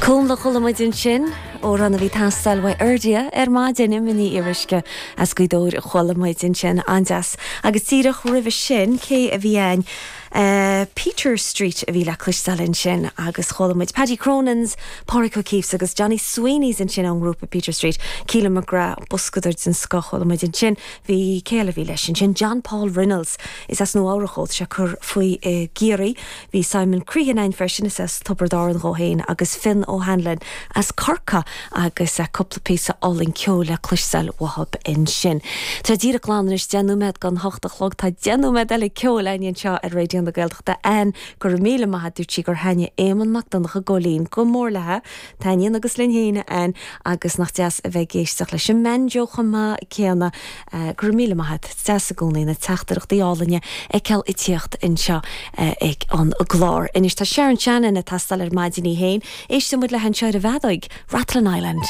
Cúnla a chuala muid ansin, amhrán a bhí ag teastáil uaidh Irdia ar maidin, Emma Ní Fhíoruisce as Gaoth Dobhair a chuala muid ansin, an-deas. Agus díreach roimhe sin, cé a bhí ann? Peter Street a bhí le cloisteáil ansin agus chuala muid Paddy Cronin's, Pádraic O'Keeffe agus Johnny Sweeney's ansin ón ngrúpa Peter Street, Keelan McGrath, boscadóir den scoth a chuala muid ansin. Bhí, cé eile a bhí leis ansin? John Paul Reynolds, is as Nua Eabhrach dhó, tá sé ag cur faoi i gCiarraí. Bhí Simon Crehan ann freisin, is as Tiobraid Árann dhó féin, agus Fionn O'Hanlon as Corcaigh agus cúpla píosa álainn ceoil le cloisteáil uathub ansin. Tá díreach glan anois 10 nóiméad don hocht a chlog. Tá 10 nóiméad eile ceoil againn anseo ar Raidió na Gaeltachta. Ann, go raibh míle maith a't, dúirt sí gur thaitnigh Éamonn Mac Donncha Góilín go mór léithe. Taitníonn agus linn féin, a Ann, agus nach deas a bheith ag éisteacht leis an mbanjo chomh maith céanna. Go raibh míle maith a't. Is deas i gcónaí na teachtaireachtaí álainne a fheiceáil ag tíocht anseo ag an gclár. Anois tá Sharon Shannon ag teastáil ar maidin í féin. Éistfidh muid léi anseo ar an bhfeadóig, Rathlin Island.